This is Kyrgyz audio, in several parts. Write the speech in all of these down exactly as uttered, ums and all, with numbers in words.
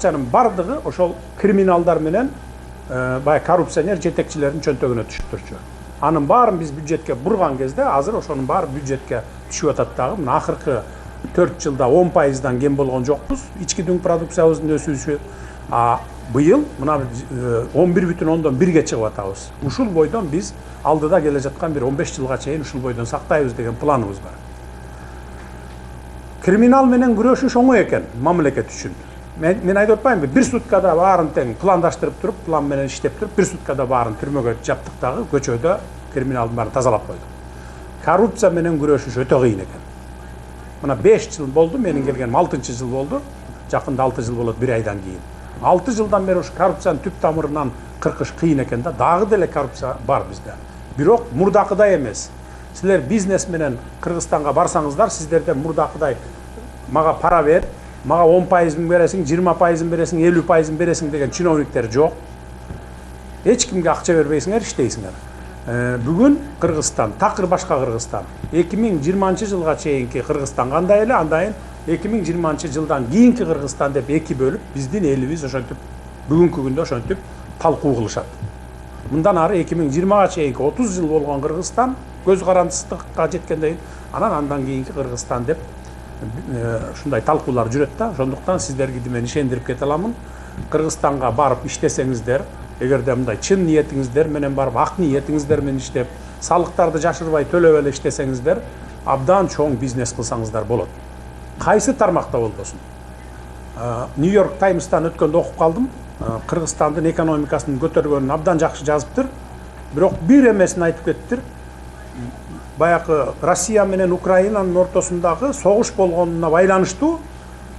акчанын бардыгы ошол криминалдар менен баягы коррупционер жетекчилердин чөнтөгүнө түшүп турчу. Анын баарын биз бюджетке бурган кезде азыр ошонун баары бюджетке түшүп атат дагы. Мына акыркы төрт жылда он пайыздан кем болгон жокпуз. Ички дүң продукциябыздын өсүүсү. А быйыл мына он бир бүтүн ондон бирге чыгып атабыз. Ушул бойдон биз алдыда келе жаткан бир он беш жылга чейин ушул бойдон сактайбыз деген планыбыз бар. Криминал менен күрөшүш оңой экен мамлекет үчүн. Мен, мен айтып атпаймынбы, бир суткада баарын тең пландаштырып туруп, план менен иштеп туруп, бир суткада баарын түрмөгө жаптык дагы көчөдө криминалдын баарын тазалап койдук. Коррупция менен күрөшүш өтө кыйын экен. Мына беш жыл болду, менин келгеним алтынчы жыл болду. Жакында алты жыл болот бир айдан кийин. алты жылдан бери ушу коррупциянын түп тамырынан кыркыш кыйын экен да, дагы деле коррупция бар бизде. Бирок мурдакыдай эмес. Силер бизнес менен Кыргызстанга барсаңыздар, сиздерден мурдакыдай мага пара бер, мага он пайызын бересиң, жыйырма пайызын бересиң, элүү пайызын бересиң деген чиновниктер жок. Эч кимге акча бербейсиңер, иштейсиңер. Бүгүн Кыргызстан, такыр башка Кыргызстан. эки миң жыйырманчы жылга чейинки Кыргызстан кандай эле, андайын эки миң жыйырманчы жылдан кийинки Кыргызстан деп эки бөлүп, биздин элибиз ошентип бүгүнкү күндө ошентип талкуу кылышат. Мындан ары эки миң жыйырмага чейинки отуз жыл болгон Кыргызстан көз карандысыздыкка жеткенден кийин анан андан кийинки Кыргызстан деп ушундай талкуулар жүрөт да. Ошондуктан сиздерге мен ишендирип кете аламын. Кыргызстанга барып иштесеңиздер, эгерде мындай чын ниетиңиздер менен барып, ак ниетиңиздер менен иштеп, салыктарды жашырбай төлөп эле иштесеңиздер, абдан чоң бизнес кылсаңыздар болот. Кайсы тармакта болбосун. Нью-Йорк Таймстан өткөндө окуп калдым. Кыргызстандын экономикасынын көтөргөнүн абдан жакшы жазыптыр. Бирок бир эмесин айтып кеттир. Баягы Россия менен Украинанын ортосундагы согуш болгонуна байланыштуу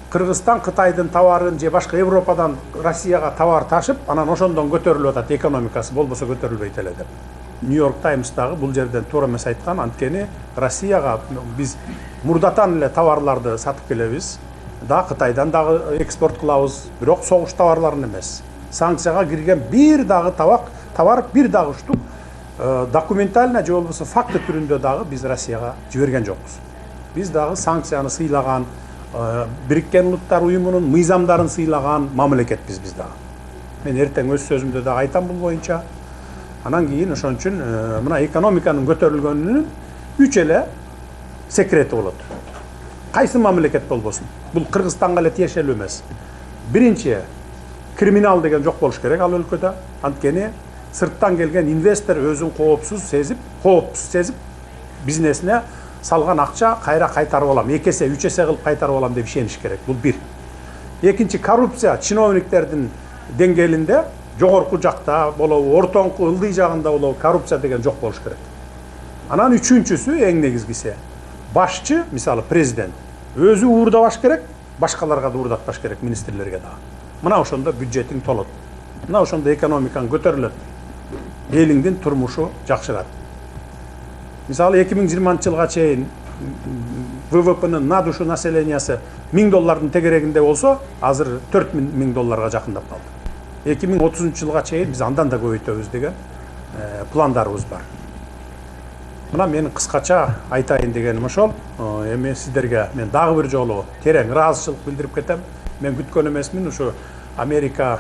Кыргызстан Кытайдын товарын же башка Европадан Россияга товар ташып, анан ошондон көтөрүлүп атат экономикасы, болбосо көтөрүлбөйт эле деп. Нью-Йорк Таймстагы бул жерден туура эмес айткан, анткени Россияга биз мурдатан эле товарларды сатып келебиз. Да Кытайдан дагы экспорт кылабыз, бирок согуш товарларын эмес. Санкцияга кирген бир дагы табак, товар бир дагы штук документально же болбосо факты түрүндө дагы биз Россияга жиберген жокпуз. Биз дагы санкцияны сыйлаган, Бириккен Улуттар уюмунун мыйзамдарын сыйлаган мамлекетпиз биз дагы. Мен эртең өз сөзүмдө дагы айтам бул боюнча. Анан кийин ошон үчүн мына экономиканын көтөрүлгөнүнүн үч эле секрети болот. Кайсы мамлекет болбосун. Бул Кыргызстанга эле тиешелүү эмес. Биринчи, криминал деген жок болуш керек ал өлкөдө. Анткени сырттан келген инвестор өзүн коопсуз сезип, коопсуз сезип, бизнесине салган акча кайра кайтарып алам, эки эсе, үч эсе кылып кайтарып алам деп ишениш керек. Бул бир. Экинчи, коррупция чиновниктердин деңгээлинде жогорку жакта болобу, ортоңку ылдый жагында болобу коррупция деген жок болуш керек. Анан үчүнчүсү эң негизгиси, башчы, мисалы президент, өзү уурдабаш керек, башкаларга да уурдатпаш керек, министрлерге да. Мына ошондо бюджетиң толот. Мына ошондо экономикаң көтөрүлөт. Элиңдин турмушу жакшырат. Мисалы эки миң жыйырманчы жылга чейин вэ вэ пэ-нын на душу населениясы миң доллардын тегерегинде болсо, азыр төрт миң долларга жакындап калды. эки миң отузунчу жылга чейин биз андан да көбөйтөбүз деген пландарыбыз бар. Мына менин кыскача айтайын дегеним ошол. Эми сиздерге мен дагы бир жолу терең ыраазычылык билдирип кетем. Мен күткөн эмесмин, ушу Америка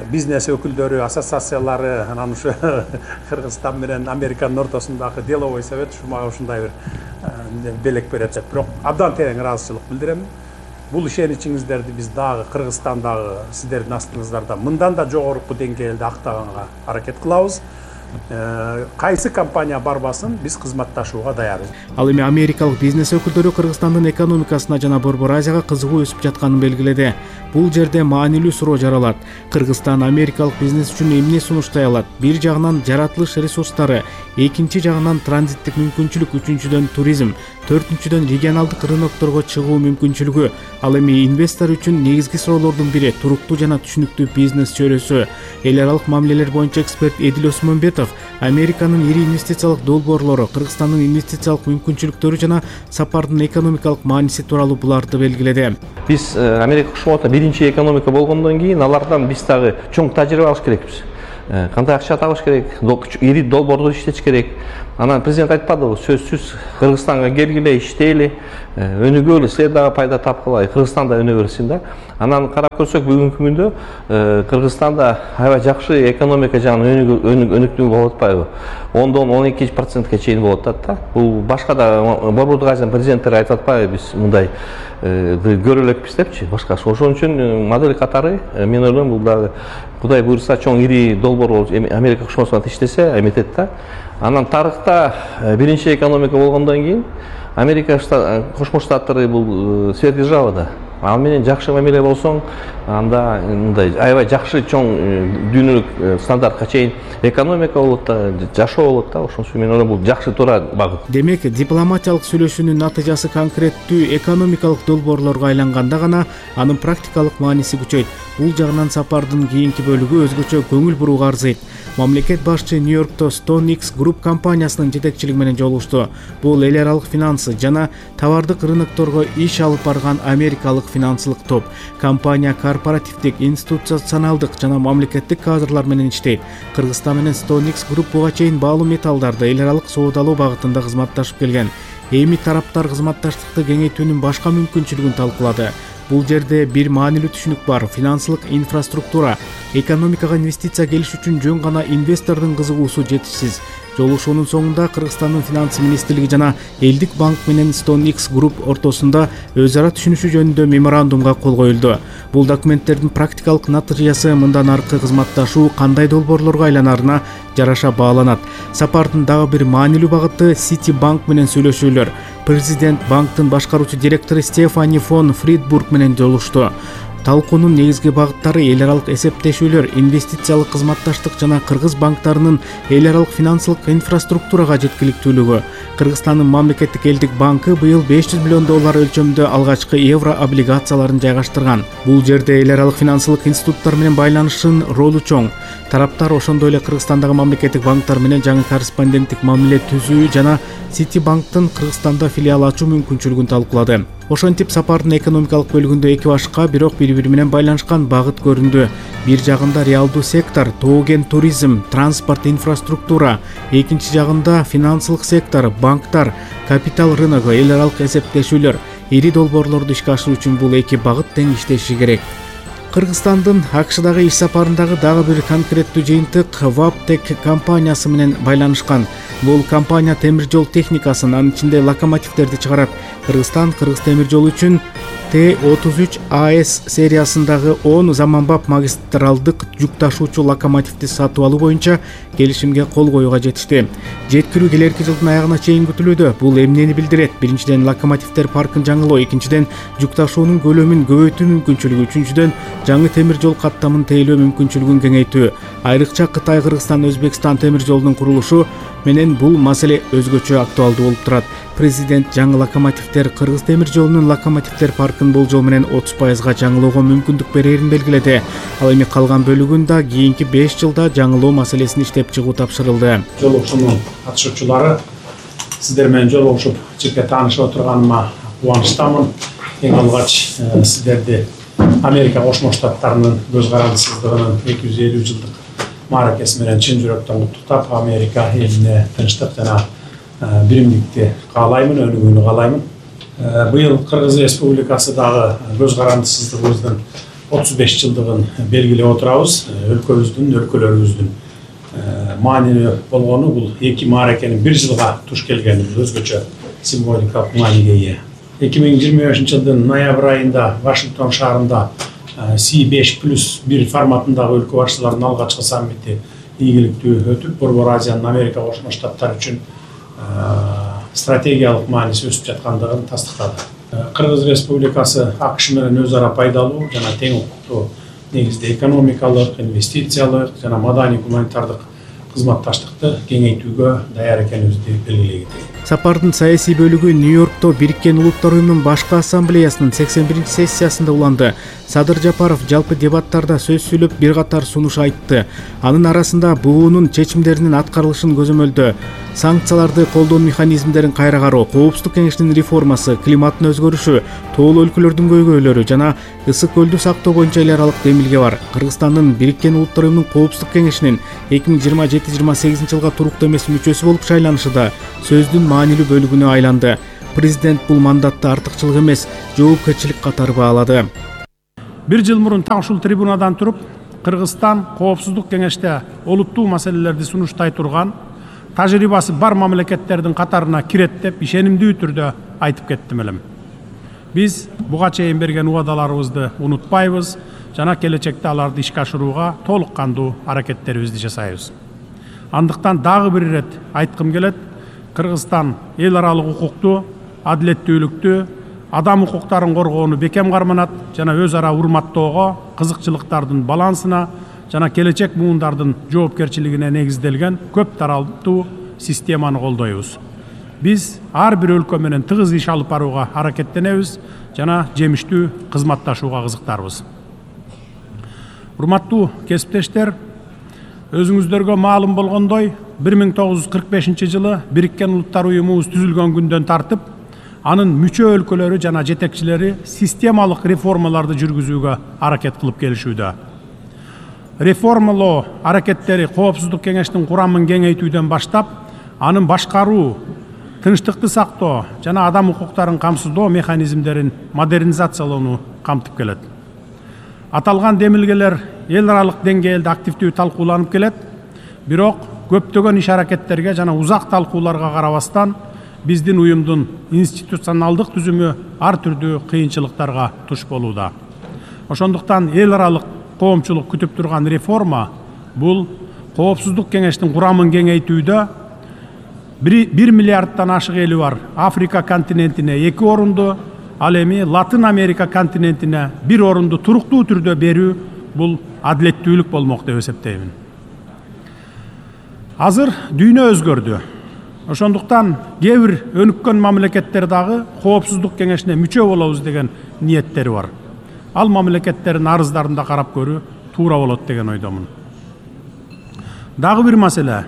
бизнес өкүлдөрү, ассоциациялары, анан ушу Кыргызстан менен Американын ортосундагы деловой совет ушу мага ушундай бир белек берет деп. Бирок абдан терең ыраазычылык билдирем. Бул ишеничиңиздерди биз дагы Кыргызстандагы сиздердин астыңыздарда мындан да жогорку деңгээлде актаганга аракет кылабыз. Кайсы компания барбасын биз кызматташууга даярбыз. Ал эми америкалык бизнес өкүлдөрү Кыргызстандын экономикасына жана Борбор Азияга кызыгуу өсүп жатканын белгиледи. Бул жерде маанилүү суроо жаралат. Кыргызстан америкалык бизнес үчүн эмне сунуштай алат? Бир жагынан жаратылыш ресурстары, экинчи жагынан транзиттик мүмкүнчүлүк, үчүнчүдөн туризм, төртүнчүдөн регионалдык рынокторго чыгуу мүмкүнчүлүгү. Ал эми инвестор үчүн негизги суроолордун бири туруктуу жана түшүнүктүү бизнес чөйрөсү. Эл аралык мамилелер боюнча эксперт Эдил Осмонбетов Американын ири инвестициялык долбоорлору, Кыргызстандын инвестициялык мүмкүнчүлүктөрү жана сапардын экономикалык мааниси тууралуу буларды белгиледи. Биз Америка кошмото биринчи экономика болгондон кийин алардан биз дагы чоң тажрыйба алыш керекпиз. Кандай акча табыш керек, ири долбоорду иштетиш керек. Анан президент айтпадыбы, сөзсүз Кыргызстанга келгиле, иштейли, өнүгө эле дагы пайда тапкыла, Кыргызстан да өнүгө берсин да. Анан карап көрсөк бүгүнкү күндө Кыргызстанда аябай жакшы экономика жагынан өнүктүү болуп атпайбы? ондон он эки процентке чейин болуп атат да. Бул башка да Борбордук Азиянын президенттери айтып атпайбы, биз мындай көрө элекпиз депчи, башка. Ошон үчүн модель катары мен ойлойм бул дагы Кудай буйрса чоң ири долбоор болуп Америка Кошмо Штаттарына иштесе эметет да. Анан тарыхта биринчи экономика болгондон кийин Америка Кошмо Штаттары бул сверхдержава да. Ал менен жакшы мамиле болсоң, анда мындай аябай жакшы чоң дүйнөлүк стандартка чейин экономика болот да, жашоо болот да. Ошон үчүн мен ойлойм бул жакшы туура багыт. Демек, дипломатиялык сүйлөшүүнүн натыйжасы конкреттүү экономикалык долбоорлорго айланганда гана анын практикалык мааниси күчөйт. Бул жагынан сапардын кийинки бөлүгү өзгөчө көңүл бурууга арзыйт. Мамлекет башчы Нью-Йоркто StoneX Group компаниясынын жетекчилиги менен жолугушту. Бул эл аралык финансы жана товардык рынокторго иш алып барган америкалык финансылык топ. Компания корпоративдик, институционалдык жана мамлекеттик кадрлар менен иштейт. Кыргызстан менен StoneX Group буга чейин баалуу металлдарды эл аралык соодалоо багытында кызматташып келген. Эми тараптар кызматташтыкты кеңейтүүнүн башка мүмкүнчүлүгүн талкуулады. Бул жерде бир маанилүү түшүнүк бар: финансылык инфраструктура. Экономикага инвестиция келиш үчүн жөн гана инвестордун кызыгуусу жетишсиз. Жолугушуунун соңунда Кыргызстандын финанс министрлиги жана Элдик банк менен StoneX Group ортосунда өз ара түшүнүшүү жөнүндө меморандумга кол коюлду. Бул документтердин практикалык натыйжасы мындан аркы кызматташуу кандай долбоорлорго айланарына жараша бааланат. Сапардын дагы бир маанилүү багыты City банк менен сүйлөшүүлөр. Президент банктын башкаруучу директору Стефани фон Фридбург менен жолугушту. Талкуунун негизги багыттары эл аралык эсептешүүлөр, инвестициялык кызматташтык жана кыргыз банктарынын эл аралык финансылык инфраструктурага жеткиликтүүлүгү. Кыргызстандын мамлекеттик элдик банкы быйыл беш жүз миллион доллар өлчөмүндө алгачкы евро облигацияларын жайгаштырган. Бул жерде эл аралык финансылык институттар менен байланышын ролу чоң. Тараптар ошондой эле Кыргызстандагы мамлекеттик банктар менен жаңы корреспонденттик мамиле түзүү жана City банктын Кыргызстанда филиал ачуу мүмкүнчүлүгүн талкуулады. Ошентип сапардын экономикалык бөлүгүндө эки башка, бирок бири-бири менен байланышкан багыт көрүндү. Бир жагында реалдуу сектор, тоо-кен туризм, транспорт инфраструктура, экинчи жагында финансылык сектор, банктар, капитал рыногу, эл аралык эсептешүүлөр. Ири долбоорлорду ишке ашыруу үчүн бул эки багыт тең иштеши керек. Кыргызстандын АКШдагы иш сапарындагы дагы бир конкреттүү жыйынтык Wabtec компаниясы менен байланышкан. Бул компания темир жол техникасын, анын ичинде локомотивдерди чыгарат. Кыргызстан Кыргыз темир жолу үчүн Т отуз үч А С сериясындагы он заманбап магистралдык жүк ташуучу локомотивди сатып алуу боюнча келишимге кол коюуга жетишти. Жеткирүү келерки жылдын аягына чейин күтүлүүдө. Бул эмнени билдирет? Биринчиден, локомотивдер паркын жаңылоо, экинчиден, жүк ташуунун көлөмүн көбөйтүү мүмкүнчүлүгү, үчүнчүдөн, жаңы темир жол каттамын тейлөө мүмкүнчүлүгүн кеңейтүү. Айрыкча Кытай, Кыргызстан, Өзбекстан темир жолунун курулушу менен бул маселе өзгөчө актуалдуу болуп турат. Президент жаңы локомотивдер Кыргыз темир жолунун локомотивдер паркын болжол менен отуз пайызга жаңылоого мүмкүндүк берерин белгиледи. Ал эми калган бөлүгүн да кийинки беш жылда жаңылоо маселесин иштеп чыгуу тапшырылды. Жолугушуунун катышуучулары, сиздер менен жолугушуп жеке таанышып отурганыма кубанычтамын. Эң алгач сиздерди Америка Кошмо Штаттарынын көз карандысыздыгынын эки жүз элүү жылдык мааракеси менен чын жүрөктөн куттуктап, Америка элине тынчтык жана биримдикти каалаймын, өнүгүүнү каалаймын. Быйыл Кыргыз Республикасы дагы көз карандысыздыгыбыздын отуз беш жылдыгын белгилеп отурабыз. Өлкөбүздүн, өлкөлөрүбүздүн маанилүү болгону бул эки мааракенин бир жылга туш келгени өзгөчө символикалык мааниге ээ. эки миң жыйырма бешинчи жылдын ноябрь айында Вашингтон шаарында Си беш плюс бир форматындагы өлкө башчыларынын алгачкы саммити ийгиликтүү өтүп, Борбор Азиянын Америка Кошмо Штаттары үчүн стратегиялык мааниси өсүп жаткандыгын тастыктады. Кыргыз Республикасы АКШ менен өз ара пайдалуу жана тең укуктуу негизде экономикалык, инвестициялык жана маданий гуманитардык кызматташтыкты кеңейтүүгө даяр экенибизди белгилей кетели. Сапардын саясий бөлүгү Нью-Йоркто Бириккен Улуттар уюмунун башкы ассамблеясынын сексен биринчи сессиясында уланды. Садыр Жапаров жалпы дебаттарда сөз сүйлөп бир катар сунуш айтты. Анын арасында буунун чечимдеринин аткарылышын көзөмөлдөө, санкцияларды колдоо механизмдерин кайра кароо, коопсуздук кеңешинин реформасы, климаттын өзгөрүшү, тоолуу өлкөлөрдүн көйгөйлөрү жана ысык көлдү сактоо боюнча эл аралык демилге бар. Кыргызстандын Бириккен Улуттар уюмунун коопсуздук кеңешинин эки миң жыйырма жети жыйырма сегизинчи жылга туруктуу эмес мүчөсү болуп шайланышы да сөздүн маанилүү бөлүгүнө айланды. Президент бул мандатты артыкчылык эмес, жоопкерчилик катары баалады. Бир жыл мурун так ушул трибунадан туруп, Кыргызстан Коопсуздук кеңеште олуттуу маселелерди сунуштай турган, тажрыйбасы бар мамлекеттердин катарына кирет деп ишенимдүү түрдө айтып кеттим элем. Биз буга чейин берген убадаларыбызды унутпайбыз жана келечекте аларды ишке ашырууга толук кандуу аракеттерибизди жасайбыз. Андыктан дагы бир ирет айткым келет, Кыргызстан эл аралык укукту, адилеттүүлүктү, адам укуктарын коргоону бекем карманат жана өз ара урматтоого, кызыкчылыктардын балансына жана келечек муундардын жоопкерчилигине негизделген көп таралдуу системаны колдойбуз. Биз ар бир өлкө менен тыгыз иш алып барууга аракеттенебиз жана жемиштүү кызматташууга кызыктарбыз. Урматтуу кесиптештер, өзүңүздөргө маалым болгондой, бир миң тогуз жүз кырк бешинчи жылы Бириккен Улуттар Уюмубуз түзүлгөн күндөн тартып, анын мүчө өлкөлөрү жана жетекчилери системалык реформаларды жүргүзүүгө аракет кылып келишүүдө. Реформалоо аракеттери Коопсуздук кеңештин курамын кеңейтүүдөн баштап, анын башкаруу, тынчтыкты сактоо жана адам укуктарын камсыздоо механизмдерин модернизациялоону камтып келет. Аталган демилгелер эл аралык деңгээлде активдүү талкууланып келет, бирок көптөгөн иш аракеттерге жана узак талкууларга карабастан биздин уюмдун институционалдык түзүмү ар түрдүү кыйынчылыктарга туш болууда. Ошондуктан эл аралык коомчулук күтүп турган реформа бул Коопсуздук кеңештин курамын кеңейтүүдө бир миллиардтан ашык эли бар Африка континентине эки орунду, ал эми Латын Америка континентине бир орунду туруктуу түрдө берүү бул адилеттүүлүк болмок деп эсептеймин. Азыр дүйнө өзгөрдү. Ошондуктан кээ бир өнүккөн мамлекеттер дагы Коопсуздук кеңешине мүчө болобуз деген ниеттери бар. Ал мамлекеттердин арыздарында карап көрүү туура болот деген ойдомун. Дагы бир маселе,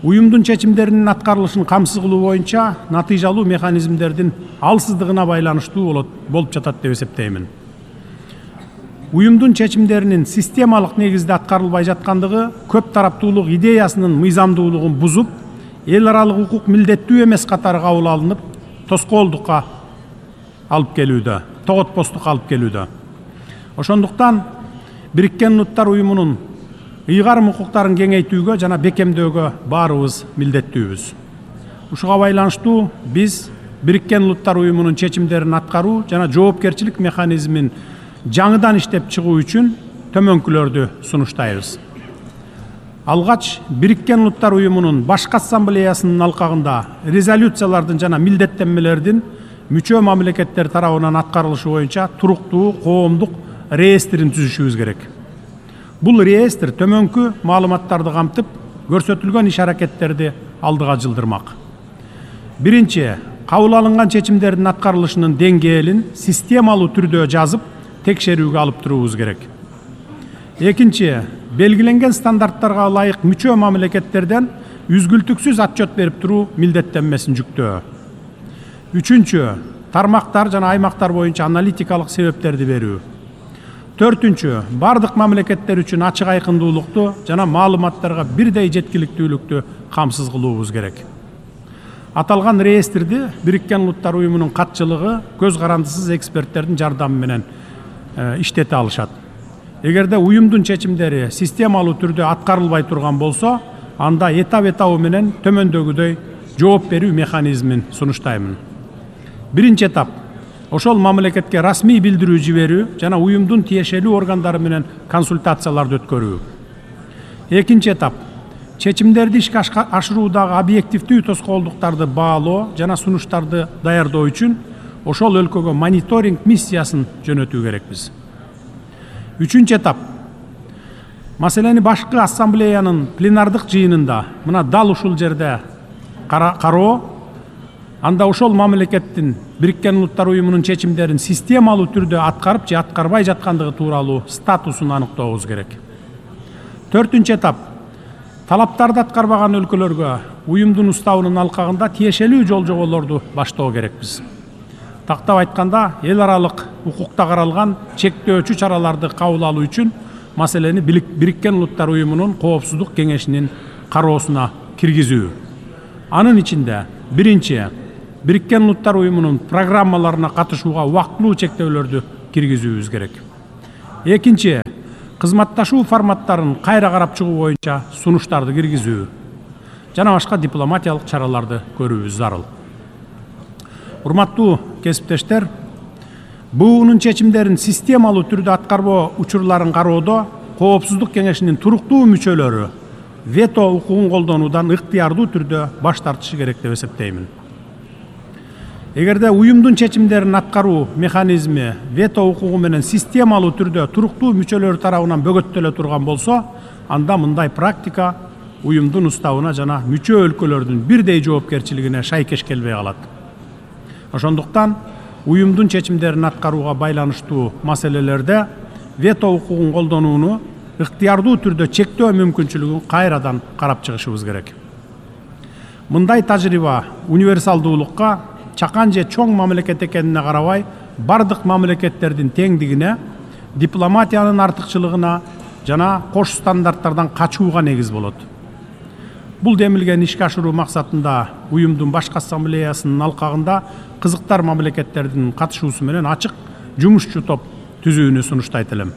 уюмдун чечимдеринин аткарылышын камсыз кылуу боюнча натыйжалуу механизмдердин алсыздыгына байланыштуу болот болуп жатат деп эсептеймин. Уюмдун чечимдеринин системалык негизде аткарылбай жаткандыгы көп тараптуулук идеясынын мыйзамдуулугун бузуп, эл аралык укук милдеттүү эмес катары кабыл алынып, тоскоолдукка алып келүүдө, тоготпостукка алып келүүдө. Ошондуктан Бириккен Улуттар Уюмунун ыйгарым укуктарын кеңейтүүгө жана бекемдөөгө баарыбыз милдеттүүбүз. Ушуга байланыштуу биз Бириккен Улуттар Уюмунун чечимдерин аткаруу жана жоопкерчилик механизмин жаңыдан иштеп чыгуу үчүн төмөнкүлөрдү сунуштайбыз. Алгач Бириккен Улуттар Уюмунун башкы ассамблеясынын алкагында резолюциялардын жана милдеттенмелердин мүчө мамлекеттер тарабынан аткарылышы боюнча туруктуу коомдук реестрин түзүшүбүз керек. Бул реестр төмөнкү маалыматтарды камтып, көрсөтүлгөн иш аракеттерди алдыга жылдырмак. Биринчи, кабыл алынган чечимдердин аткарылышынын деңгээлин системалуу түрдө жазып, текшерүүгө алып туруубуз керек. Экинчи, белгиленген стандарттарга ылайык мүчө мамлекеттерден үзгүлтүксүз отчет берип туруу милдеттенмесин жүктөө. Үчүнчү, тармактар жана аймактар боюнча аналитикалык себептерди берүү. Төртүнчү, бардык мамлекеттер үчүн ачык айкындуулукту жана маалыматтарга бирдей жеткиликтүүлүктү камсыз кылуубуз керек. Аталган реестрди Бириккен Улуттар Уюмунун катчылыгы көз карандысыз эксперттердин жардамы менен иштете алышат. Эгерде уюмдун чечимдери системалуу түрдө аткарылбай турган болсо, анда этап-этабы менен төмөндөгүдөй жооп берүү механизмин сунуштаймын. Биринчи этап, ошол мамлекетке расмий билдирүү жиберүү жана уюмдун тиешелүү органдары менен консультацияларды өткөрүү. Экинчи этап, чечимдерди ишке ашыруудагы объективдүү тоскоолдуктарды баалоо жана сунуштарды даярдоо үчүн ошол өлкөгө мониторинг миссиясын жөнөтүү керекпиз. Үчүнчү этап, маселени башкы ассамблеянын пленардык жыйынында мына дал ушул жерде кароо, анда ошол мамлекеттин Бириккен Улуттар Уюмунун чечимдерин системалуу түрдө аткарып же аткарбай жаткандыгы тууралуу статусун аныктообуз керек. Төртүнчү этап, талаптарды аткарбаган өлкөлөргө уюмдун уставынын алкагында тиешелүү жол жоболорду баштоо керекпиз. Тактап айтканда, эл аралык укукта каралган чектөөчү чараларды кабыл алуу үчүн маселени Бириккен Улуттар Уюмунун Коопсуздук кеңешинин кароосуна киргизүү. Анын ичинде биринчи, Бириккен Улуттар Уюмунун программаларына катышууга убактылуу чектөөлөрдү киргизүүбүз керек. Экинчи, кызматташуу форматтарын кайра карап чыгуу боюнча сунуштарды киргизүү жана башка дипломатиялык чараларды көрүүбүз зарыл. Урматтуу кесиптештер, буунун чечимдерин системалуу түрдө аткарбоо учурларын кароодо Коопсуздук кеңешинин туруктуу мүчөлөрү вето укугун колдонуудан ыктыярдуу түрдө баш тартышы керек деп эсептеймин. Эгерде уюмдун чечимдерин аткаруу механизми вето укугу менен системалуу түрдө туруктуу мүчөлөр тарабынан бөгөттөлө турган болсо, анда мындай практика уюмдун уставына жана мүчө өлкөлөрдүн бирдей жоопкерчилигине шайкеш келбей калат. Ошондуктан уюмдун чечимдерин аткарууга байланыштуу маселелерде вето укугун колдонууну ыктыярдуу түрдө чектөө мүмкүнчүлүгүн кайрадан карап чыгышыбыз керек. Мындай тажрыйба универсалдуулукка, чакан же чоң мамлекет экенине карабай, бардык мамлекеттердин теңдигине, дипломатиянын артыкчылыгына жана кош стандарттардан качууга негиз болот. Бул демилген ишке ашыруу максатында уюмдун башкы ассамблеясынын алкагында кызыктар мамлекеттердин катышуусу менен ачык жумушчу топ түзүүнү сунуштайт элем.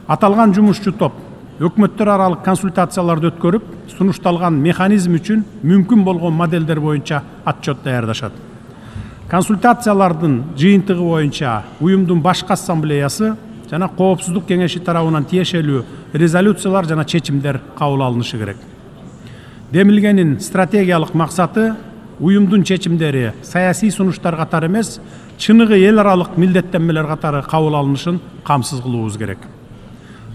Аталган жумушчу топ өкмөттөр аралык консультацияларды өткөрүп, сунушталган механизм үчүн мүмкүн болгон моделдер боюнча отчет даярдашат. Консультациялардын жыйынтыгы боюнча уюмдун башкы ассамблеясы жана Коопсуздук кеңеши тарабынан тиешелүү резолюциялар жана чечимдер кабыл алынышы керек. Демилгенин стратегиялык максаты уюмдун чечимдери саясий сунуштар катары эмес, чыныгы эл аралык милдеттенмелер катары кабыл алынышын камсыз кылуубуз керек.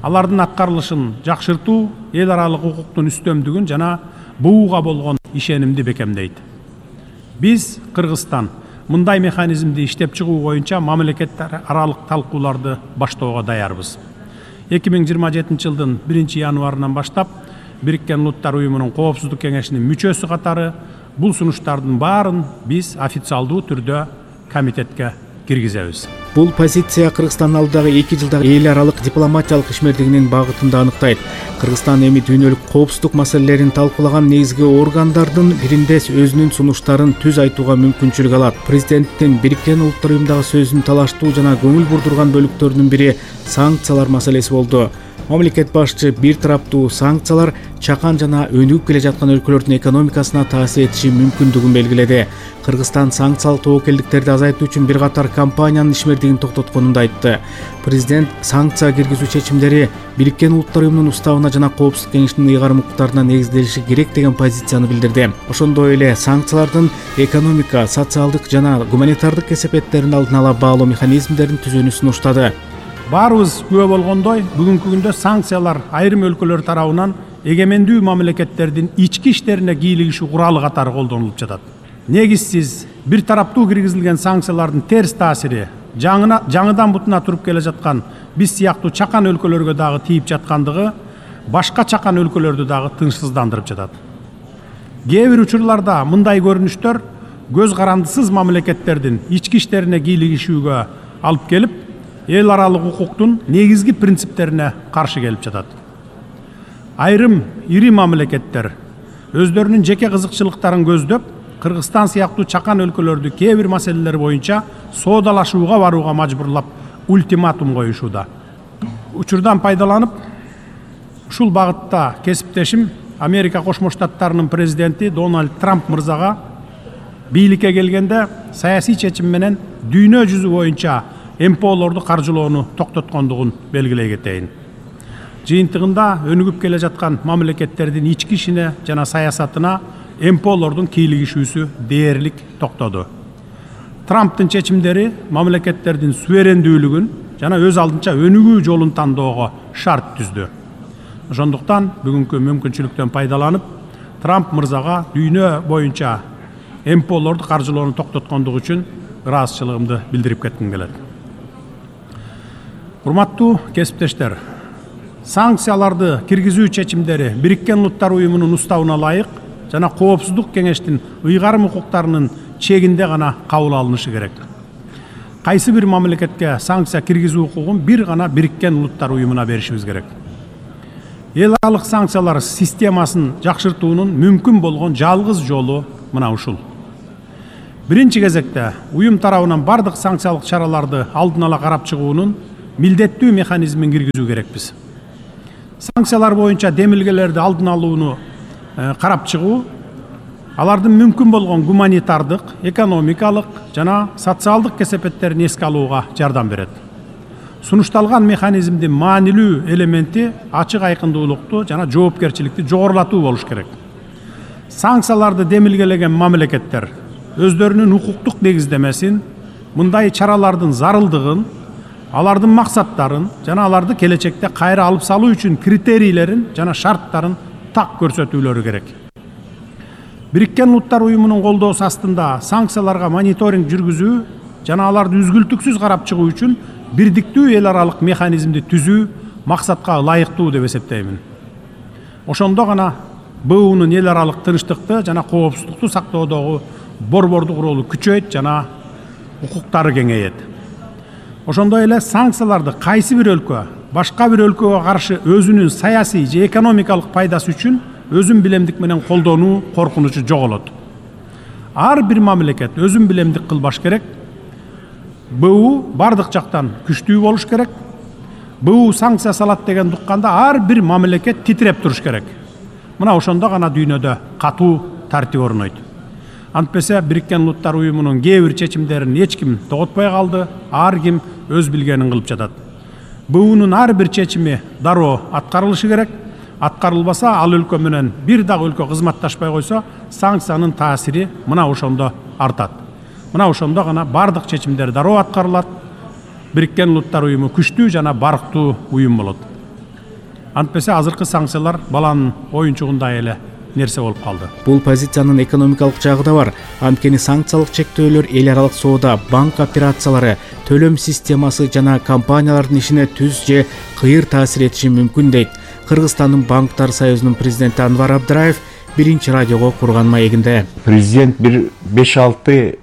Алардын аткарылышын жакшыртуу эл аралык укуктун үстөмдүгүн жана бууга болгон ишенимди бекемдейт. Биз Кыргызстан мындай механизмди иштеп чыгуу боюнча мамлекеттер аралык талкууларды баштоого даярбыз. эки миң жыйырма жетинчи жылдын биринчи январынан баштап Бириккен Улуттар Уюмунун Коопсуздук кеңешинин мүчөсү катары бул сунуштардын баарын биз официалдуу түрдө комитетке киргизебиз. Бул позиция Кыргызстан алдагы эки жылдагы эл аралык дипломатиялык ишмердигинин багытын да аныктайт. Кыргызстан эми дүйнөлүк коопсуздук маселелерин талкуулаган негизги органдардын биринде өзүнүн сунуштарын түз айтууга мүмкүнчүлүк алат. Президенттин Бириккен Улуттар Уюмдагы сөзүн талаштуу жана көңүл бурдурган бөлүктөрүнүн бири санкциялар маселеси болду. Мамлекет башчы бир тараптуу санкциялар чакан жана өнүгүп келе жаткан өлкөлөрдүн экономикасына таасир этиши мүмкүндүгүн белгиледи. Кыргызстан санкциялык тобокелдиктерди азайтуу үчүн бир катар компаниянын ишмердигин токтотконун да айтты. Президент санкция киргизүү чечимдери Бириккен Улуттар Уюмунун уставына жана Коопсуздук кеңешинин ыйгарым укуктарына негизделиши керек деген позицияны билдирди. Ошондой эле санкциялардын экономика, социалдык жана гуманитардык кесепеттерин алдын ала баалоо механизмдерин түзүүнү сунуштады. Баарыбыз күбө болгондой, бүгүнкү күндө санкциялар айрым өлкөлөр тарабынан эгемендүү мамлекеттердин ички иштерине кийлигишүү куралы катары колдонулуп жатат. Негизсиз бир тараптуу киргизилген санкциялардын терс таасири жаңына жаңыдан бутуна туруп келе жаткан биз сыяктуу чакан өлкөлөргө дагы тийип жаткандыгы башка чакан өлкөлөрдү дагы тынчсыздандырып жатат. Кээ бир учурларда мындай көрүнүштөр көз карандысыз мамлекеттердин ички иштерине кийлигишүүгө алып келип, эл аралык укуктун негизги принциптерине каршы келип жатат. Айрым ири мамлекеттер өздөрүнүн жеке кызыкчылыктарын көздөп, Кыргызстан сыяктуу чакан өлкөлөрдү кээ бир маселелер боюнча соодалашууга барууга мажбурлап ультиматум коюшууда. Учурдан пайдаланып, ушул багытта кесиптешим Америка Кошмо Штаттарынын президенти Дональд Трамп мырзага бийликке келгенде саясий чечим менен дүйнө жүзү боюнча эм пэ олорду каржылоону токтоткондугун белгилей кетейин. Жыйынтыгында өнүгүп келе жаткан мамлекеттердин ички ишине жана саясатына эм пэ олордун кийлигишүүсү дээрлик токтоду. Трамптын чечимдери мамлекеттердин суверендүүлүгүн жана өз алдынча өнүгүү жолун тандоого шарт түздү. Ошондуктан бүгүнкү мүмкүнчүлүктөн пайдаланып, Трамп мырзага дүйнө боюнча эм пэ олорду каржылоону токтоткондугу үчүн ыраазычылыгымды билдирип кетким келет. Урматтуу кесиптештер, санкцияларды киргизүү чечимдери Бириккен Улуттар Уюмунун уставына ылайык жана Коопсуздук кеңештин ыйгарым укуктарынын чегинде гана кабыл алынышы керек. Кайсы бир мамлекетке санкция киргизүү укугун бир гана Бириккен Улуттар Уюмуна беришибиз керек. Эл аралык санкциялар системасын жакшыртуунун мүмкүн болгон жалгыз жолу мына ушул. Биринчи кезекте уюм тарабынан бардык санкциялык чараларды алдын ала карап чыгуунун милдеттүү механизмин киргизүү керекпиз. Санкциялар боюнча демилгелерди алдын алууну карап чыгуу алардын мүмкүн болгон гуманитардык, экономикалык жана социалдык кесепеттерин эске алууга жардам берет. Сунушталган механизмдин маанилүү элементи ачык айкындуулукту жана жоопкерчиликти жогорулатуу болуш керек. Санкцияларды демилгелеген мамлекеттер өздөрүнүн укуктук негиздемесин, мындай чаралардын зарылдыгын, алардын максаттарын жана аларды келечекте кайра алып салуу үчүн критерийлерин жана шарттарын так көрсөтүүлөрү керек. Бириккен Улуттар уюмунун колдоосу астында санкцияларга мониторинг жүргүзүү жана аларды үзгүлтүксүз карап чыгуу үчүн бирдиктүү эл аралык механизмди түзүү максатка ылайыктуу деп эсептеймин. Ошондо гана Б Унун эл аралык тынчтыкты жана коопсуздукту сактоодогу борбордук ролу күчөйт жана укуктары кеңейет. Ошондой эле санкцияларды кайсы бир өлкө башка бир өлкөгө каршы өзүнүн саясий же экономикалык пайдасы үчүн өзүн билемдик менен колдонуу коркунучу жоголот. Ар бир мамлекет өзүн билемдик кылбаш керек. Б У бардык жактан күчтүү болуш керек. Б У санкция салат деген укканда ар бир мамлекет титиреп туруш керек. Мына ошондо гана дүйнөдө катуу тартип орнойт. Антпесе Бириккен Улуттар уюмунун кээ бир чечимдерин эч ким тоготпой калды, ар ким өз билгенин кылып жатат. Б Унун ар бир чечими дароо аткарылышы керек. Аткарылбаса, ал өлкө менен бир дагы өлкө кызматташпай койсо, санкциянын таасири мына ошондо артат. Мына ошондо гана бардык чечимдер дароо аткарылат. Бириккен Улуттар уюму күчтүү жана барктуу уюм болот. Антпесе азыркы санкциялар баланын оюнчугундай эле нерсе болуп калды. Бул позициянын экономикалык жагы да бар. Анткени санкциялык чектөөлөр эл аралык соода, банк операциялары, төлөм системасы жана компаниялардын ишине түз же кыйыр таасир этиши мүмкүн дейт Кыргызстандын банктар союзунун президенти Анвар Абдыраев биринчи радиого курган маегинде. Президент бир беш алты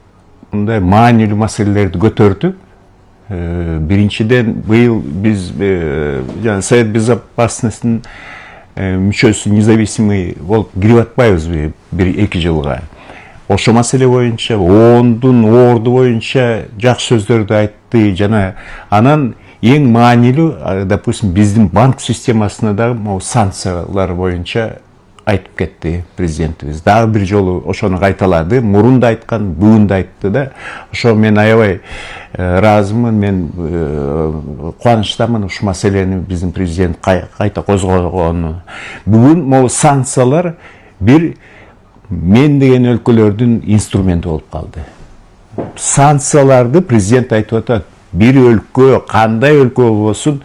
мындай маанилүү маселелерди көтөрдү. Биринчиден быйыл биз жана Совет Безопасностьтун мүчөсү независимый болуп кирип атпайбызбы бир эки жылга. Ошо маселе боюнча ондун орду боюнча жакшы сөздөрдү айтты жана анан эң маанилүү, допустим, биздин банк системасына дагы могу санкциялар боюнча айтып кетти президентибиз. Дагы бир жолу ошону кайталады. Мурун да айткан, бүгүн да айтты да. Ошо мен аябай ыраазымын, мен кубанычтамын ушул маселени биздин президент кайта козгогону. Бүгүн могу санкциялар бир мен деген өлкөлөрдүн инструменти болуп калды. Санкцияларды президент айтып атат. Бир өлкө, кандай өлкө болсун,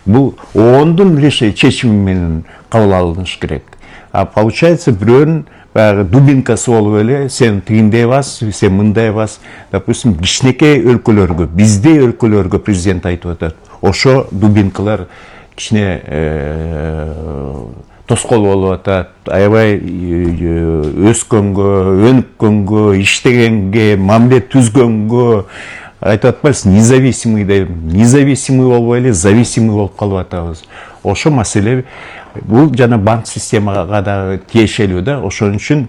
бул ондун чечими менен кабыл алыныш керек. А получается бирөөнүн баягы дубинкасы болуп эле, сен тигиндей бас, сен мындай бас. Допустим, кичинекей өлкөлөргө, биздей өлкөлөргө президент айтып атат. Ошо дубинкалар кичине тоскоол болуп атат. Аябай өскөнгө, өнүккөнгө, иштегенге, мамиле түзгөнгө айтып атпайбыз, независимый деп, независимый болбой эле зависимый болуп калып атабыз. Ошо маселе бул жана банк системага дагы тиешелүү да. Ошон үчүн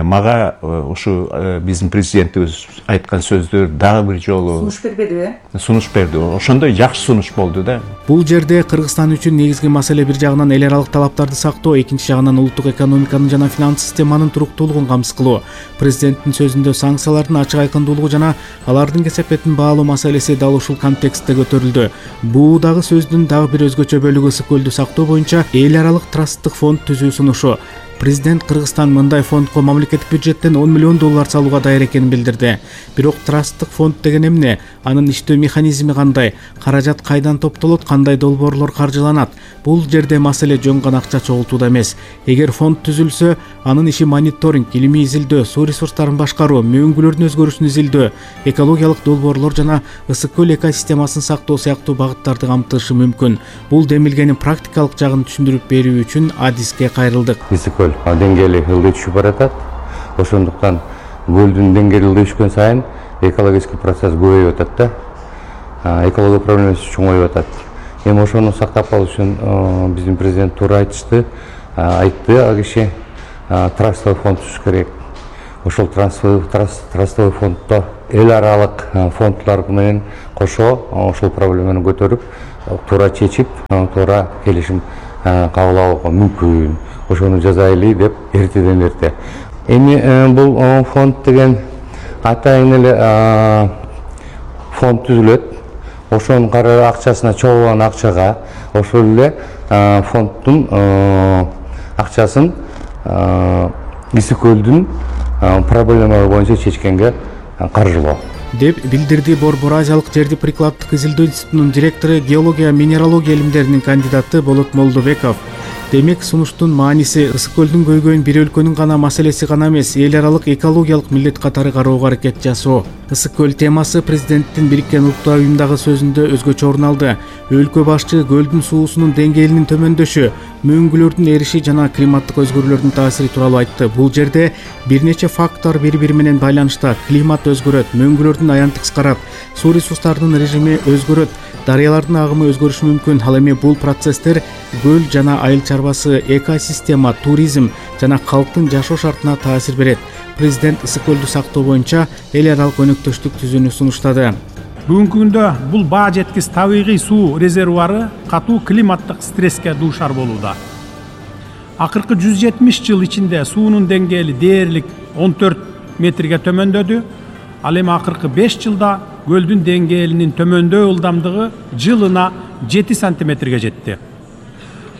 мага ушу биздин президентибиз айткан сөздөр дагы бир жолу сунуш бербедиби? Сунуш берди. Ошондой жакшы сунуш болду да. Бул жерде Кыргызстан үчүн негизги маселе бир жагынан эл аралык талаптарды сактоо, экинчи жагынан улуттук экономиканын жана финанс системанын туруктуулугун камсыз кылуу. Президенттин сөзүндө санкциялардын ачык айкындуулугу жана алардын кесепетин баалоо маселеси дал ушул контекстте көтөрүлдү. Бул дагы сөздүн дагы бир өзгөчө бөлүгү ысык көлдү сактоо боюнча эл аралык трасттык фонд түзүү сунушу. Президент Кыргызстан мындай фондко мамлекеттик бюджеттен он миллион доллар салууга даяр экенин билдирди. Бирок трасттык фонд деген эмне? Анын иштөө механизми кандай? Каражат кайдан топтолот? Кандай долбоорлор каржыланат? Бул жерде маселе жөн гана акча чогултууда эмес. Эгер фонд түзүлсө, анын иши мониторинг, илимий изилдөө, суу ресурстарын башкаруу, мөңгүлөрдүн өзгөрүшүн изилдөө, экологиялык долбоорлор жана ысык көл экосистемасын сактоо сыяктуу багыттарды камтышы мүмкүн. Бул демилгенин практикалык жагын түшүндүрүп берүү үчүн адиске кайрылдык. Деңгээли ылдый түшүп баратат. Ошондуктан көлдүн деңгээли ылдый түшкөн сайын экологический процесс көбөйүп атат да. Экология проблемасы чоңоюп атат. Эми ошону сактап калуу үчүн биздин президент туура айтышты, айтты, ал киши трастовый фонд түзүш керек. ошол трастовый фонддо эл аралык фонддор менен кошо ошол проблеманы көтөрүп туура чечип туура келишим кабыл алууга мүмкүн. Ошону жасайлы деп эртеден эрте. Эми бул фонд деген атайын эле фонд түзүлөт. Ошонун каражат акчасына чогулган акчага ошол эле фонддун акчасын Ысык көлдүн проблемалары боюнча чечкенге каржылоо деп билдирди Борбор Азиялык жерди прикладдык изилдөө институтунун директору, геология, минералогия илимдеринин кандидаты Болот Молдобеков. Демек, сунуштун мааниси ысык көлдүн көйгөйүн бир өлкөнүн гана маселеси гана эмес, эл аралык экологиялык милдет катары кароого аракет жасоо. Ысык көл темасы президенттин Бириккен Улуттар уюмдагы сөзүндө өзгөчө орун алды. Өлкө башчы көлдүн суусунун деңгээлинин төмөндөшү, мөңгүлөрдүн эриши жана климаттык өзгөрүүлөрдүн таасири тууралуу айтты. Бул жерде бир нече фактор бири-бири менен байланышта. Климат өзгөрөт, мөңгүлөрдүн аянты кыскарат, суу ресурстарынын режими өзгөрөт, дарыялардын агымы өзгөрүшү мүмкүн. Ал эми бул процесстер көл жана айыл чарбасы, экосистема, туризм жана калктын жашоо шартына таасир берет. Президент ысык көлдү сактоо боюнча эл аралык өнөктөштүк түзүүнү сунуштады. Бүгүнкү күндө бул баа жеткис табигый суу резервуары катуу климаттык стресске дуушар болууда. Акыркы жүз жетимиш жыл ичинде суунун деңгээли дээрлик он төрт метрге төмөндөдү. Ал эми акыркы беш жылда көлдүн деңгээлинин төмөндөө ылдамдыгы жылына жети сантиметрге жетти.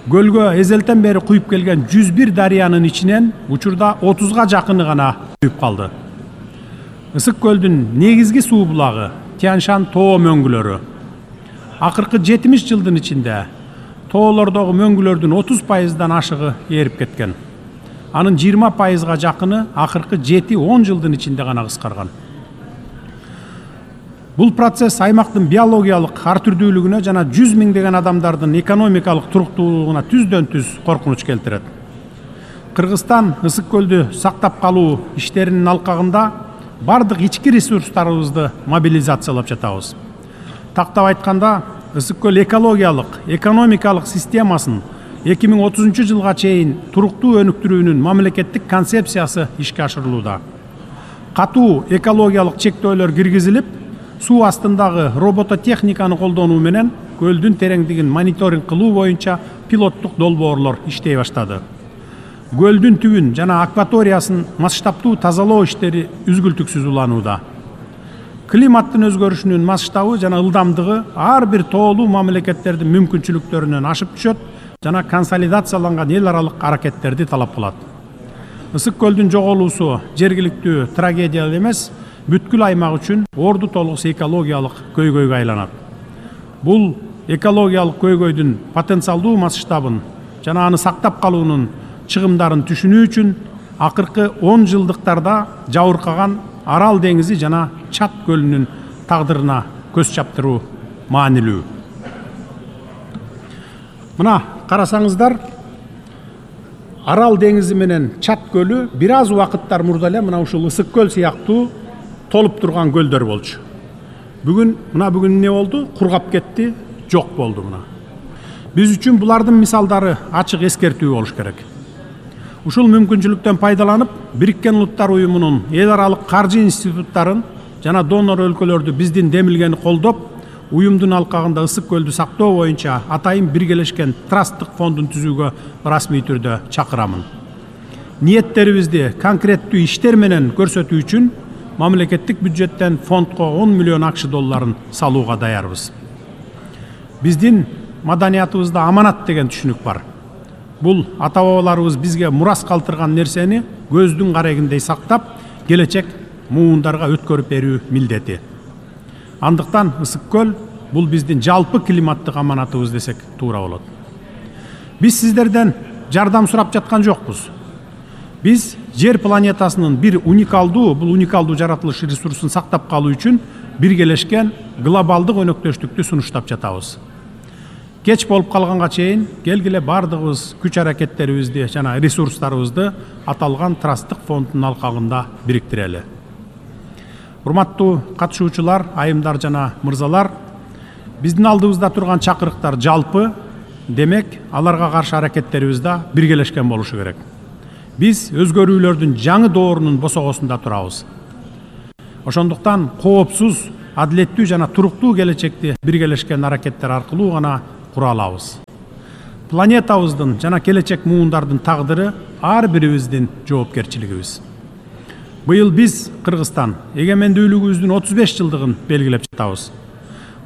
Көлгө эзелтен бери куюп келген жүз бир дарыянын ичинен учурда отузга жакыны гана куюп калды. Ысык көлдүн негизги суу булагы Тянь-Шань тоо мөңгүлөрү. Акыркы жетимиш жылдын ичинде тоолордогу мөңгүлөрдүн отуз пайыздан ашыгы ээрип кеткен. Анын жыйырма пайызга жакыны акыркы жети он жылдын ичинде гана кыскарган. Бул процесс аймактын биологиялык ар түрдүүлүгүнө жана жүз миңдеген адамдардын экономикалык туруктуулугуна түздөн түз коркунуч келтирет. Кыргызстан ысык көлдү сактап калуу иштеринин алкагында бардык ички ресурстарыбызды мобилизациялап жатабыз. Тактап айтканда, ысык көл экологиялык, экономикалык системасын эки миң отузунчу жылга чейин туруктуу өнүктүрүүнүн мамлекеттик концепциясы ишке ашырылууда. Катуу экологиялык чектөөлөр киргизилип, суу астындагы робототехниканы колдонуу менен көлдүн тереңдигин мониторинг кылуу боюнча пилоттук долбоорлор иштей баштады. Көлдүн түбүн жана акваториясын масштабтуу тазалоо иштери үзгүлтүксүз уланууда. Климаттын өзгөрүшүнүн масштабы жана ылдамдыгы ар бир тоолуу мамлекеттердин мүмкүнчүлүктөрүнөн ашып түшөт жана консолидацияланган эл аралык аракеттерди талап кылат. Ысык көлдүн жоголуусу жергиликтүү трагедия эмес, бүткүл аймак үчүн орду толгус экологиялык көйгөйгө айланат. Бул экологиялык көйгөйдүн потенциалдуу масштабын жана аны сактап калуунун чыгымдарын түшүнүү үчүн акыркы он жылдыктарда жабыркаган Арал деңизи жана Чат көлүнүн тагдырына көз чаптыруу маанилүү. Мына карасаңыздар, Арал деңизи менен Чат көлү бир аз убакыттар мурда эле мына ушул ысык көл сыяктуу толуп турган көлдөр болчу. Бүгүн мына бүгүн эмне болду? Кургап кетти, жок болду мына. Биз үчүн булардын мисалдары ачык эскертүү болуш керек. Ушул мүмкүнчүлүктөн пайдаланып, Бириккен Улуттар уюмунун эл аралык каржы институттарын жана донор өлкөлөрдү биздин демилгени колдоп, уюмдун алкагында ысык көлдү сактоо боюнча атайын биргелешкен трасттык фондун түзүүгө расмий түрдө чакырамын. Ниеттерибизди конкреттүү иштер менен көрсөтүү үчүн мамлекеттик бюджеттен фондко он миллион акш долларын салууга даярбыз. Биздин маданиятыбызда аманат деген түшүнүк бар. Бул ата-бабаларыбыз бизге мурас калтырган нерсени көздүн карегиндей сактап, келечек муундарга өткөрүп берүү милдети. Андыктан ысык көл бул биздин жалпы климаттык аманатыбыз десек туура болот. Биз сиздерден жардам сурап жаткан жокпуз. Биз жер планетасынын бир уникалдуу, бул уникалдуу жаратылыш ресурсун сактап калуу үчүн биргелешкен глобалдык өнөктөштүктү сунуштап жатабыз. Кеч болуп калганга чейин келгиле бардыгыбыз күч аракеттерибизди жана ресурстарыбызды аталган трасттык фонддун алкагында бириктирели. Урматтуу катышуучулар, айымдар жана мырзалар, биздин алдыбызда турган чакырыктар жалпы, демек аларга каршы аракеттерибиз да биргелешкен болушу керек. Биз өзгөрүүлөрдүн жаңы доорунун босогосунда турабыз. Ошондуктан коопсуз, адилеттүү жана туруктуу келечекти биргелешкен аракеттер аркылуу гана кура алабыз. Планетабыздын жана келечек муундардын тагдыры ар бирибиздин жоопкерчилигибиз. Быйыл биз Кыргызстан эгемендүүлүгүбүздүн отуз беш жылдыгын белгилеп жатабыз.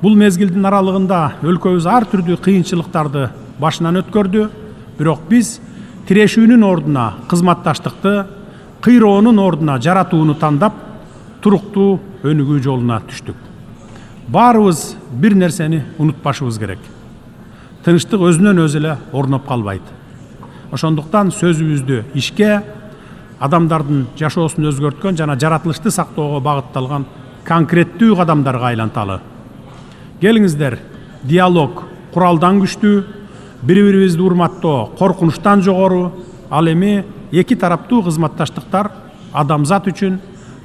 Бул мезгилдин аралыгында өлкөбүз ар түрдүү кыйынчылыктарды башынан өткөрдү, бирок биз тирешүүнүн ордуна кызматташтыкты, кыйроонун ордуна жаратууну тандап, туруктуу өнүгүү жолуна түштүк. Баарыбыз бир нерсени унутпашыбыз керек. Тынчтык өзүнөн өзү эле орноп калбайт. Ошондуктан сөзүбүздү ишке, адамдардын жашоосун өзгөрткөн жана жаратылышты сактоого багытталган конкреттүү кадамдарга айланталы. Келиңиздер, диалог куралдан күчтүү, бири-бирибизди урматтоо коркунучтан жогору, ал эми эки тараптуу кызматташтыктар адамзат үчүн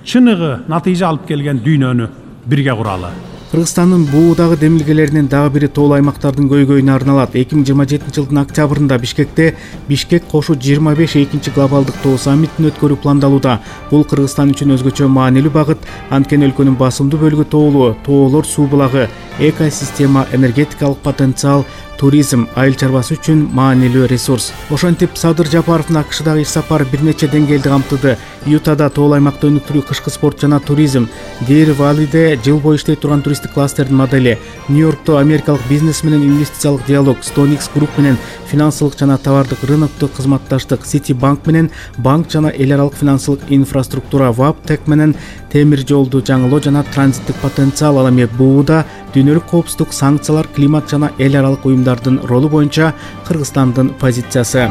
чыныгы натыйжа алып келген дүйнөнү бирге куралы. Кыргызстандын буудагы демилгелеринин дагы бири тоол аймактардын көйгөйүнө арналат. эки миң жыйырма жетинчи жылдын октябрында Бишкекте Бишкек кошу жыйырма беш экинчи глобалдык тоо саммитин өткөрүү пландалууда. Бул Кыргызстан үчүн өзгөчө маанилүү багыт, анткени өлкөнүн басымдуу бөлүгү тоолуу, тоолор суу булагы, экосистема, энергетикалык потенциал, туризм, айыл чарбасы үчүн маанилүү ресурс. Ошентип Садыр Жапаровдун АКШдагы иш сапары бир нече деңгээлди камтыды. Ютада тоол аймакта өнүктүрүү кышкы спорт жана туризм, Дер Валиде жыл бою иштей турган туристтик кластердин модели, Нью-Йоркто америкалык бизнес менен инвестициялык диалог, Stonex Group менен финансылык жана товардык рыноктук кызматташтык, City Bank менен банк жана эл аралык финансылык инфраструктура, Ваптек менен темир жолду жаңылоо жана транзиттик потенциал. Ал эми бууда дүйнөлүк коопсуздук, санкциялар, климат жана эл аралык уюмдардын ролу боюнча Кыргызстандын позициясы.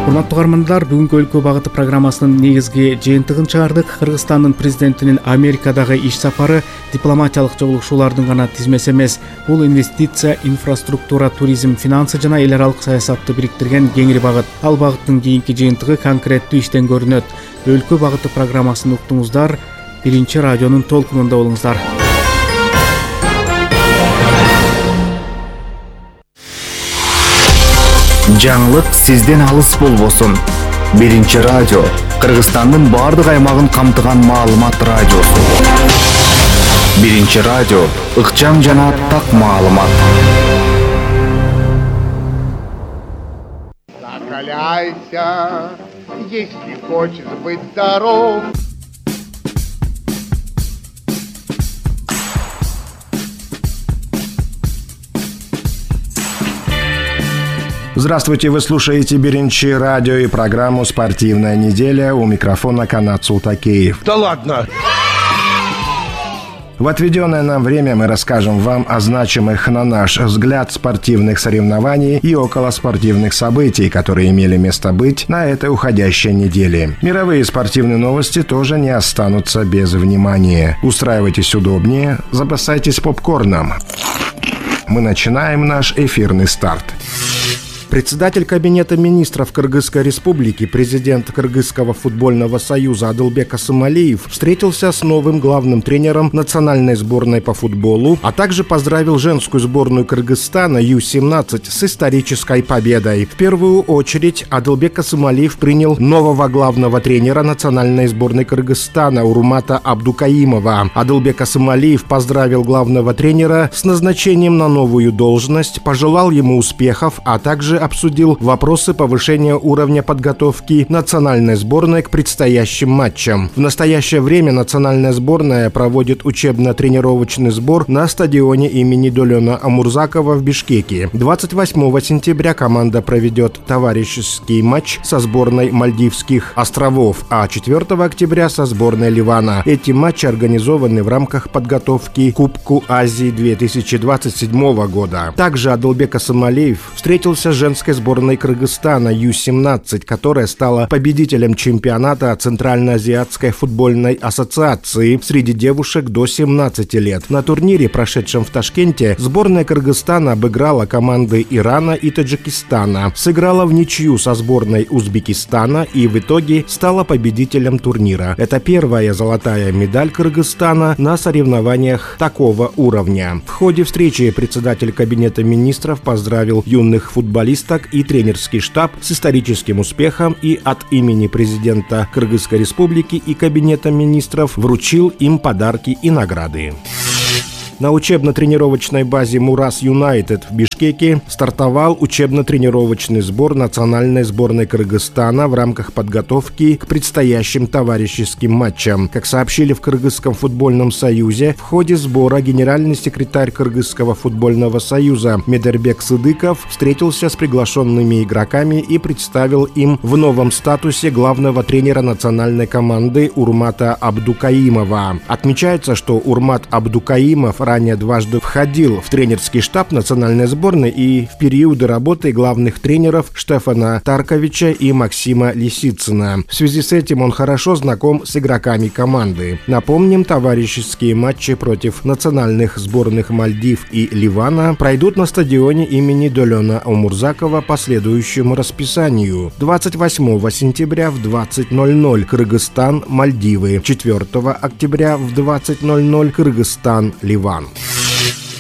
Урматтуу угармандар, бүгүнкү өлкө багыты программасынын негизги жыйынтыгын чыгардык. Кыргызстандын президентинин Америкадагы иш сапары дипломатиялык жолугушуулардын гана тизмеси эмес. Бул инвестиция, инфраструктура, туризм, финансы жана эл аралык саясатты бириктирген кеңири багыт. Ал багыттын кийинки жыйынтыгы конкреттүү иштен көрүнөт. Өлкө багыты программасын уктуңуздар. Биринчи радионун толкунунда болуңуздар. Жаңылык сизден алыс болбосун. Биринчи радио Кыргызстандын бардык аймагын камтыган маалымат радиосу. Биринчи радио ыкчам жана так маалымат. Закаляйся, если хочешь быть здоров. Здравствуйте, вы слушаете Биринчи радио и программу «Спортивная неделя». У микрофона Канат Султакеев. Да ладно! В отведенное нам время мы расскажем вам о значимых, на наш взгляд, спортивных соревнований и околоспортивных событий, которые имели место быть на этой уходящей неделе. Мировые спортивные новости тоже не останутся без внимания. Устраивайтесь удобнее, запасайтесь попкорном. Мы начинаем наш эфирный старт. Председатель Кабинета министров Кыргызской республики, президент Кыргызского футбольного союза Адылбек Асымалиев встретился с новым главным тренером национальной сборной по футболу, а также поздравил женскую сборную Кыргызстана ю семнадцать с исторической победой. В первую очередь Адылбек Асымалиев принял нового главного тренера национальной сборной Кыргызстана Урмата Абдукаимова. Адылбек Асымалиев поздравил главного тренера с назначением на новую должность, пожелал ему успехов, а также обсудил вопросы повышения уровня подготовки национальной сборной к предстоящим матчам. В настоящее время национальная сборная проводит учебно-тренировочный сбор на стадионе имени Долена Амурзакова в Бишкеке. двадцать восьмого сентября команда проведет товарищеский матч со сборной Мальдивских островов, а четвёртого октября со сборной Ливана. Эти матчи организованы в рамках подготовки к Кубку Азии две тысячи двадцать седьмого года. Также Адылбек Асымалиев встретился с женской сборной Кыргызстана ю семнадцать, которая стала победителем чемпионата Центральноазиатской футбольной ассоциации среди девушек до семнадцати лет. На турнире, прошедшем в Ташкенте, сборная Кыргызстана обыграла команды Ирана и Таджикистана, сыграла в ничью со сборной Узбекистана и в итоге стала победителем турнира. Это первая золотая медаль Кыргызстана на соревнованиях такого уровня. В ходе встречи председатель Кабинета министров поздравил юных футболистов футболисток и тренерский штаб с историческим успехом и от имени президента Кыргызской республики и Кабинета министров вручил им подарки и награды. На учебно-тренировочной базе «Мурас Юнайтед» в Бишкеке стартовал учебно-тренировочный сбор национальной сборной Кыргызстана в рамках подготовки к предстоящим товарищеским матчам. Как сообщили в Кыргызском футбольном союзе, в ходе сбора генеральный секретарь Кыргызского футбольного союза Медербек Сыдыков встретился с приглашенными игроками и представил им в новом статусе главного тренера национальной команды Урмата Абдукаимова. Отмечается, что Урмат Абдукаимов ранее дважды входил в тренерский штаб национальной сборной и в периоды работы главных тренеров Штефана Тарковича и Максима Лисицына. В связи с этим он хорошо знаком с игроками команды. Напомним, товарищеские матчи против национальных сборных Мальдив и Ливана пройдут на стадионе имени Долена Омурзакова по следующему расписанию. двадцать восьмого сентября в двадцать ноль ноль Кыргызстан, Мальдивы. четвёртого октября в двадцать ноль ноль Кыргызстан, Ливан.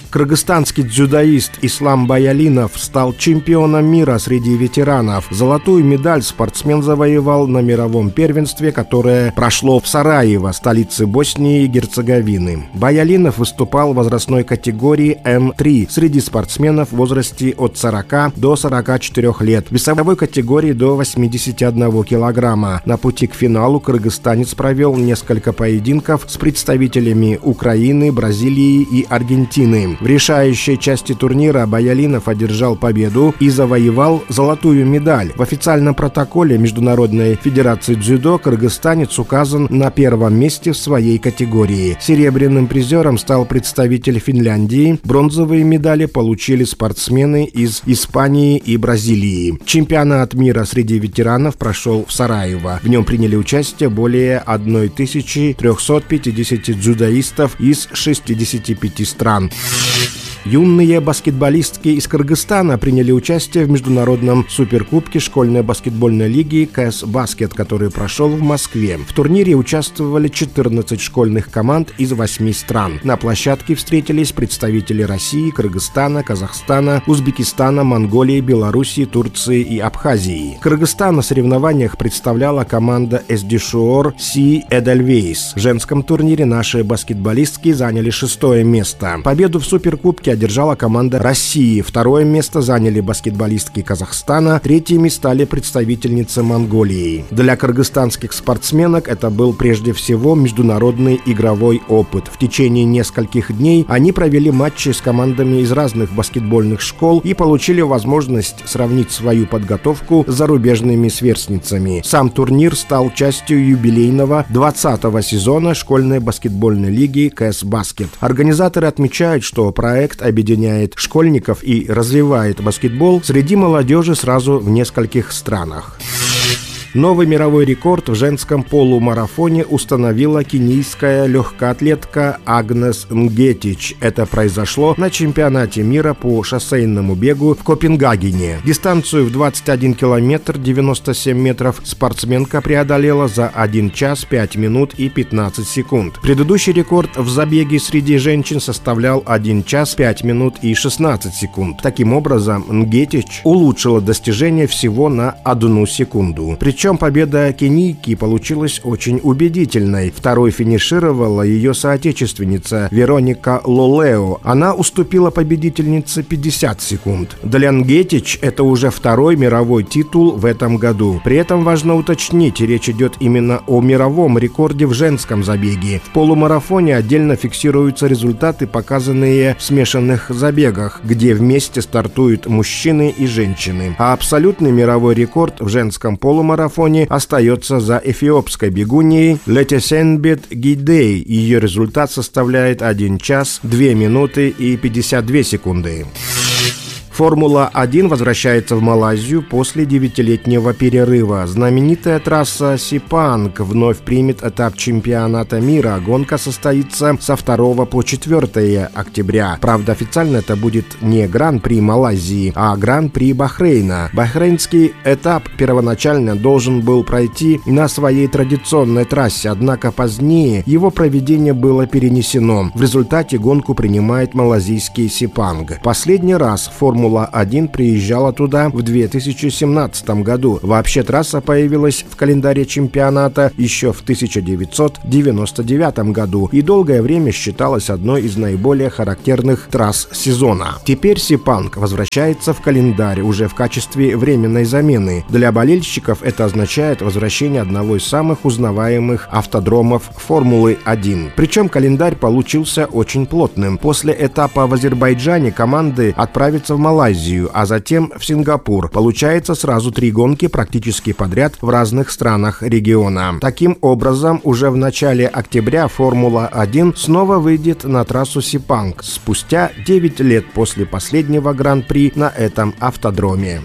Кыргызстанский дзюдоист Ислам Баялинов стал чемпионом мира среди ветеранов. Золотую медаль спортсмен завоевал на мировом первенстве, которое прошло в Сараево, столице Боснии и Герцеговины. Баялинов выступал в возрастной категории эм три среди спортсменов в возрасте от сорока до сорока четырёх лет, в весовой категории до восьмидесяти одного килограмма. На пути к финалу кыргызстанец провел несколько поединков с представителями Украины, Бразилии и Аргентины. В решающей части турнира Баялинов одержал победу и завоевал золотую медаль. В официальном протоколе Международной федерации дзюдо кыргызстанец указан на первом месте в своей категории. Серебряным призером стал представитель Финляндии. Бронзовые медали получили спортсмены из Испании и Бразилии. Чемпионат мира среди ветеранов прошел в Сараево. В нем приняли участие более тысячи триста пятьдесят дзюдоистов из шестидесяти пяти стран. Юные баскетболистки из Кыргызстана приняли участие в международном суперкубке школьной баскетбольной лиги КС Баскет, который прошел в Москве. В турнире участвовали четырнадцать школьных команд из восьми стран. На площадке встретились представители России, Кыргызстана, Казахстана, Узбекистана, Монголии, Белоруссии, Турции и Абхазии. Кыргызстан на соревнованиях представляла команда Эсдишор Си Эдельвейс. В женском турнире наши баскетболистки заняли шестое место. Победу в суперкубке одержала команда России. Второе место заняли баскетболистки Казахстана. Третьими стали представительницы Монголии. Для кыргызстанских спортсменок это был прежде всего международный игровой опыт. В течение нескольких дней они провели матчи с командами из разных баскетбольных школ и получили возможность сравнить свою подготовку с зарубежными сверстницами. Сам турнир стал частью юбилейного двадцатого сезона школьной баскетбольной лиги КС Баскет. Организаторы отмечают, что проект объединяет школьников и развивает баскетбол среди молодежи сразу в нескольких странах. Новый мировой рекорд в женском полумарафоне установила кенийская легкоатлетка Агнес Нгетич. Это произошло на чемпионате мира по шоссейному бегу в Копенгагене. Дистанцию в двадцать один километр девяносто семь метров спортсменка преодолела за один час пять минут и пятнадцать секунд. Предыдущий рекорд в забеге среди женщин составлял один час пять минут и шестнадцать секунд. Таким образом, Нгетич улучшила достижение всего на одну секунду. Причем победа кенийки получилась очень убедительной. Второй финишировала ее соотечественница Вероника Лолео. Она уступила победительнице пятьдесят секунд. Для Нгетич это уже второй мировой титул в этом году. При этом важно уточнить, речь идет именно о мировом рекорде в женском забеге. В полумарафоне отдельно фиксируются результаты, показанные в смешанных забегах, где вместе стартуют мужчины и женщины. А абсолютный мировой рекорд в женском полумарафоне остается за эфиопской бегуньей Летесенбет Гидей. Ее результат составляет один час две минуты и пятьдесят две секунды. Формула один возвращается в Малайзию после девятилетнего перерыва. Знаменитая трасса Сипанг вновь примет этап чемпионата мира. Гонка состоится со второго по четвёртое октября. Правда, официально это будет не Гран-при Малайзии, а Гран-при Бахрейна. Бахрейнский этап первоначально должен был пройти на своей традиционной трассе, однако позднее его проведение было перенесено. В результате гонку принимает малазийский Сипанг. Последний раз Формула Формула один приезжала туда в две тысячи семнадцатом году. Вообще трасса появилась в календаре чемпионата еще в тысяча девятьсот девяносто девятом году и долгое время считалась одной из наиболее характерных трасс сезона. Теперь Сепанг возвращается в календарь уже в качестве временной замены. Для болельщиков это означает возвращение одного из самых узнаваемых автодромов Формулы один. Причем календарь получился очень плотным. После этапа в Азербайджане команды отправятся в Малайзию, а затем в Сингапур. Получается сразу три гонки практически подряд в разных странах региона. Таким образом, уже в начале октября Формула один снова выйдет на трассу Сепанг спустя девять лет после последнего гран-при на этом автодроме.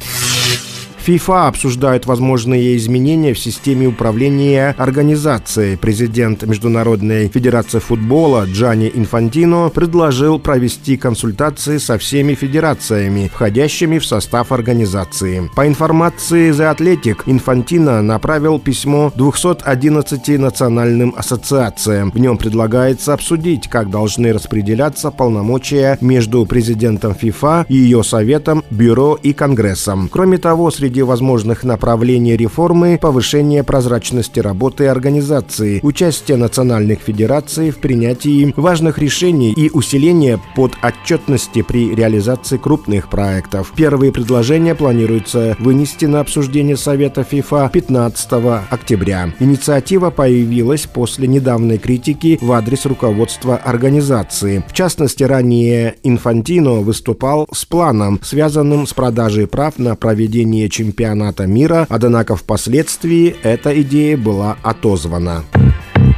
ФИФА обсуждает возможные изменения в системе управления организацией. Президент Международной федерации футбола Джанни Инфантино предложил провести консультации со всеми федерациями, входящими в состав организации. По информации The Athletic, Инфантино направил письмо двумстам одиннадцати национальным ассоциациям. В нем предлагается обсудить, как должны распределяться полномочия между президентом ФИФА и ее советом, бюро и конгрессом. Кроме того, среди возможных направлений реформы повышение прозрачности работы организации, участие национальных федераций в принятии важных решений и усиление подотчетности при реализации крупных проектов. Первые предложения планируется вынести на обсуждение Совета ФИФА пятнадцатого октября. Инициатива появилась после недавней критики в адрес руководства организации. В частности, ранее Инфантино выступал с планом, связанным с продажей прав на проведение чемпионата чемпионата мира, однако впоследствии эта идея была отозвана.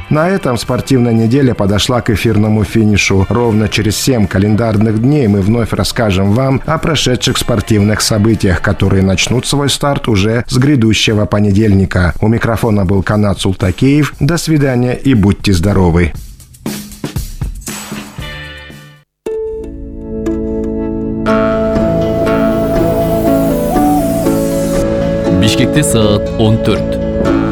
На этом спортивная неделя подошла к эфирному финишу. Ровно через семь календарных дней мы вновь расскажем вам о прошедших спортивных событиях, которые начнут свой старт уже с грядущего понедельника. У микрофона был Канат Султакеев. До свидания и будьте здоровы! Бишкекте саат он төрт.